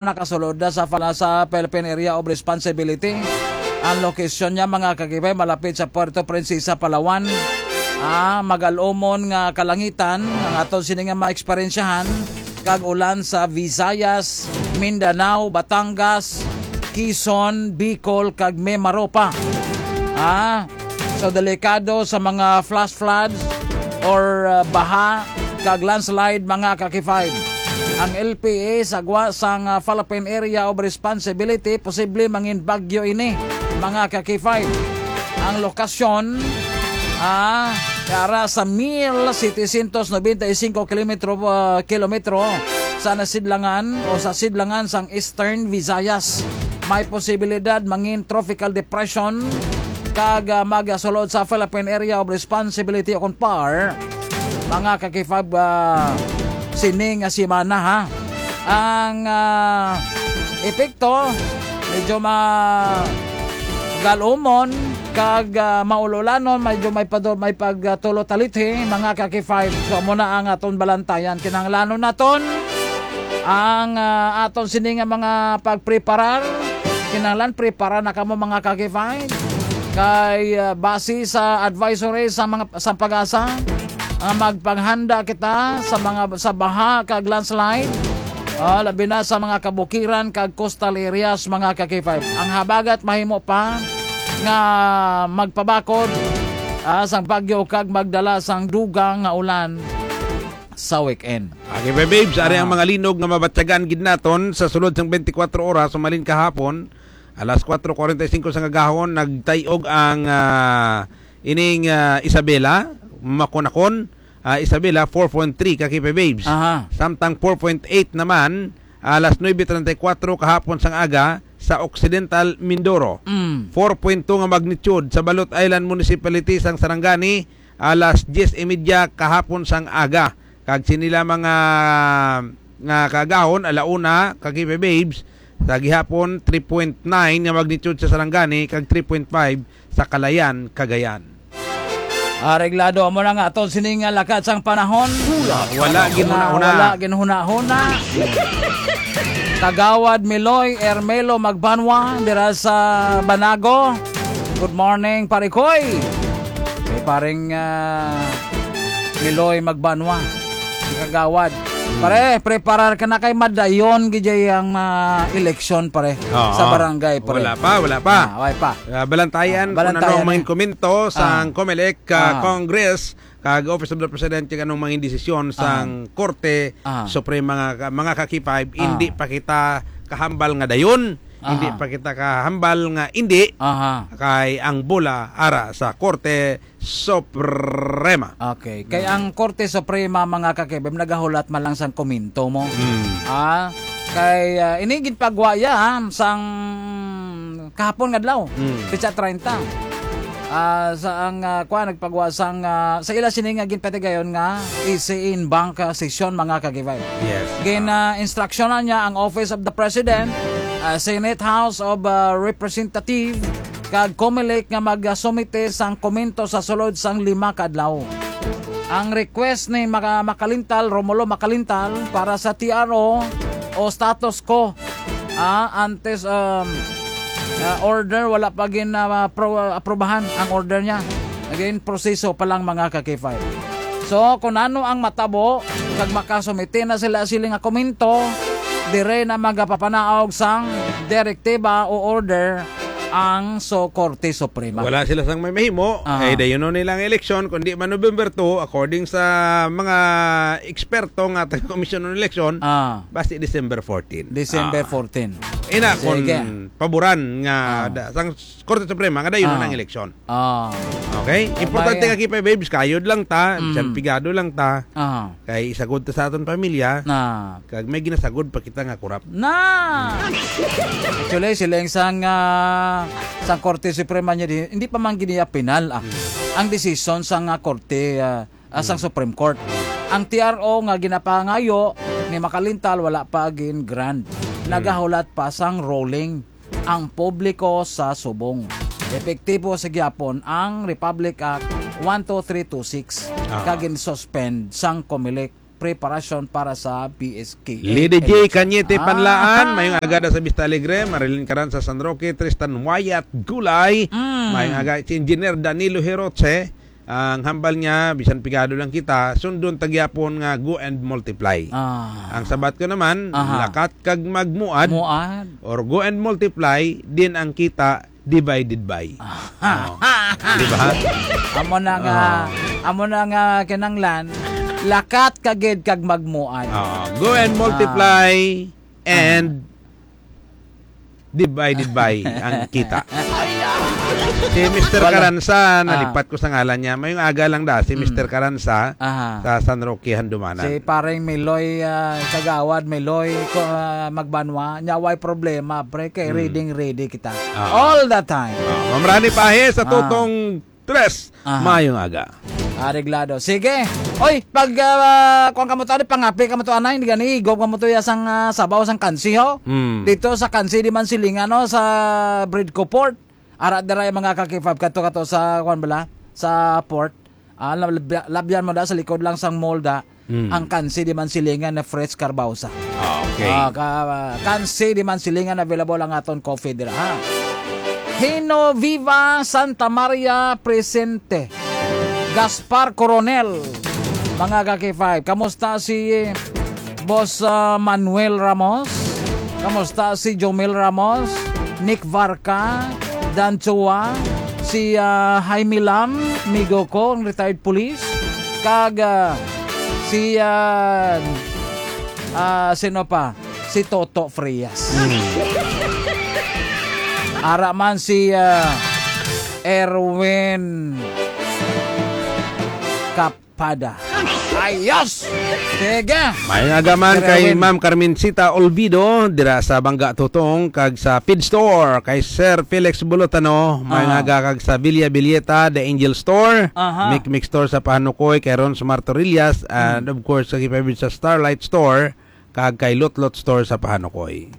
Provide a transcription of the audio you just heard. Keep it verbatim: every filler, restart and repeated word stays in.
nakasulod na sa fala-, sa Philippine Area of Responsibility. Ang lokasyon niya, mga kakibay, malapit sa Puerto Princesa, Palawan. Ah, magalumon nga kalangitan ang aton sini nga maeksperiensyahan, kag ulan sa Visayas, Mindanao, Batangas, Quezon, Bicol, kag Mimaropa. Ah, so delikado sa mga flash floods or, uh, baha kag landslide, mga ka-K five. Ang L P A sa gwa sang, uh, Philippine Area of Responsibility, posible mangin bagyo ini, mga ka-K five. Ang lokasyon, ah, ara sa mil setecientos noventa y cinco kilometro, ah, kilometro sa nasidlangan o sa sidlangan sang Eastern Visayas. May posibilidad mangin tropical depression kag, ah, magasulod sa Philippine Area of Responsibility o kon PAR, mga ka-K five, ah, sini nga semana, ha. Ang, ah, epekto, medyo ma-, galumon kag, ah, maululanon, medyo may pado-, may pagtulo talithi, mga ka-K five. So, amo na ang aton balantayan. Kinahanglanon naton ang, ah, aton sini nga mga pagpreparar. Kinahanglan prepara na kamo, mga ka-K five. Kay, ah, base sa advisory sa mga, sa PAGASA, ah, magpanghanda kita sa mga, sa baha kag landslide. Ah, labi na sa mga kabukiran kag coastal areas, mga ka-K five. Ang habagat mahimo pa nga magpabakod, ah, sang bagyo kag magdala sang dugang nga ulan sa weekend. Okay, ba, babes, ari ang Ah. mga linog nga mabatyagan gid naton sa sulod sang twenty-four oras, sumalin kahapon, alas kuwatro kuwarenta y singko sang agahon, nagtay-og ang, ah, ining, ah, Isabela, Maconacon, ah, Isabela, four point three ka K P babes. Aha. Samtang four point eight naman, alas nuebe treinta y cuatro kahapon sang aga sa Occidental Mindoro. Mm. Four point two nga magnitude sa Balot Island Municipality sang Sarangani, alas diyes y media kahapon sang aga. Kag sini lamang nga, nga kaagahon, ala una, ka K P babes, sa gihapon, three point nine nga magnitude sa Sarangani, kag three point five sa Calayan, Cagayan. Areglado, amo na nga aton sini nga lakat sang panahon. Wala ginhuna-huna. Wala ginhuna-huna. Kagawad Miloy Ermelo Magbanwa dira sa Banago. Good morning, Pare Koy. Kay Pareng, ah, Miloy Magbanwa, si Kagawad. Pare, preparar ka na kay madayon gid ang, ah, eleksyon, pare, Oo. sa barangay, pare. Wala pa, wala pa. Ah, wala pa. Ah, balantayan Ah, kung balantayan, anong mga eh. komento sang Ah. COMELEC, ah, Ah. Congress, kag Office of the President, kung anong mga desisyon sang Ah. Korte Ah. Suprema, nga, mga ka-K five, Ah. hindi pa kita kahambal nga dayon, hindi Aha. pa kita kahambal nga hindi, Aha. kay ang bola ara sa Korte Suprema. Okay. Kay Mm. ang Korte Suprema, mga ka-K five, nagahulat man lang sang komento mo. Mm. Ah, kay, ah, ini ginpagwa ya, ha, sang kahapon nga adlaw, Mm. petsa treinta. Ah, sa ang, ah, kuwan, nagpagwa sang, ah, sa ila sini nga ginpatigayon nga E C in bank, ah, session, mga ka-K five. Yes. Gin, ah, instruksyonan niya ang Office of the President, ah, Senate, House of, ah, Representative, kag COMELEC nga magasumite sang komento sa sulod sang lima ka adlaw. Ang request ni Maka-, Makalintal, Romulo Makalintal, para sa T R O o status quo, ah, antes, um, ah, order, wala pa gin, ah, pro-, aprubahan ang order niya. Again, proseso pa lang, mga ka-K five. So, kung ano ang matabo, kag makasumite na sila sila nga komento, dire na magapapanaog sang direktiba o order ang so Korte Suprema. Wala sila sang may mahimo, Ah. eh, dayon nila ang eleksyon, kundi man November two, according sa mga eksperto nga taga Commission on Election, Ah. basi December fourteen. December Ah. fourteen. Ina, Sige. kung paboran nga Ah. da-, sang Korte Suprema, nga dayon Ah. ang eleksyon. Ah. Okay? Oh, Importante may ka, K five babes, kayod lang ta, Mm. bisan pigado lang ta. Ah. Kay isagod ta sa aton pamilya, Na. kag may ginasagod pa kita nga kurap. Na! Actually, siling sang, ah, sang Korte Suprema niya di, hindi pa man giniya penal, ah. Hmm. Ang desisyon sang, ah, Korte, ah, ah, sang Hmm. Supreme Court. Ang T R O nga ginapangayo ni Makalintal wala pa gin-grant. Hmm. Nagahulat pa sang ruling ang publiko sa subong. Epektibo sa gihapon ang Republic Act one two three two six Ah. kag gin-suspend sang COMELEC. preparasyon para sa P S K A Lady J election. Cañete Ah. Panlaan, mayong aga da sa Vista Alegre, Marilyn Caran sa San Roque, Tristan Wyatt Gulay, Mm. mayong aga si Engineer Danilo Hiroche, ang hambal niya, bisan pigado lang kita, sundon ta gyapon nga go and multiply. Ah. Ang sabat ko naman, Aha. lakat kag magmuad, Muad. or go and multiply, din ang kita divided by. Ah. Oh. Di ba? Amo na nga, Ah. amo na nga kinanglan, lakat ka gid kag magmuad. Ah, go and multiply Ah. and divided by ang kita. Si Mister Wala. Karansa, Ah. nalipat ko sa ngalan niya. Mayong aga lang da, si Mm. Mister Karansa Aha. sa San Roque, Handumanan. Si pareng Miloy, ah, Kagawad, Miloy, ko, ah, Magbanwa, nya way problema, pre, kay Mm. reading ready kita. Ah. All the time. Ah, Ma'am Rani Pahe sa Ah. Tutong Tres. Aha. Mayong aga. Areglado. Sige. Oy, pag, ah, kuwan ka mo to, ano, pangapi ka mo to, anay, hindi gani, igop ka mo to, ya sang, ah, sabaw sang kansi, ho? Mm. Dito sa kansi, di man silingan, no, sa Bridco Port. Ara, dira yung mga kakipab, kato, kato sa, kuwan bala, sa port. Ah, lab-, labyan mo da, sa likod lang sang mall da. Mm. Ang kansi di man silingan na Fritz Carbausa. Ah, okay. Ah, ka-, kansi di man silingan available ang aton coffee dira, ha? Hino Viva Santa Maria presente. Gaspar Coronel, mga ka-K five. Kamusta si Boss, ah, Manuel Ramos? Kamusta si Jomel Ramos? Nick Varca? Dan Chua? Si, ah, Jaime Lam, migo ko, ang retired police? Kag, ah, si, ah, ah, sino pa? Si Toto Frias. Hmm. Ara man si, ah, Erwin Kapada. Ayos! Sige! Mayong aga man Sir kay Erwin. Ma'am Carmencita Olvido, dira sa Bangga Tutong, kag sa Feed Store, kay Sir Felix Bulutano, mayong Ah. aga kag sa Villa Villeta, The Angel Store, Aha. Mix Mix Store sa Pahanukoy, kay Ron Martorillas, and Hmm. of course, sa Gipabid sa Starlight Store, kag kay Lot Lot Store sa Pahanukoy.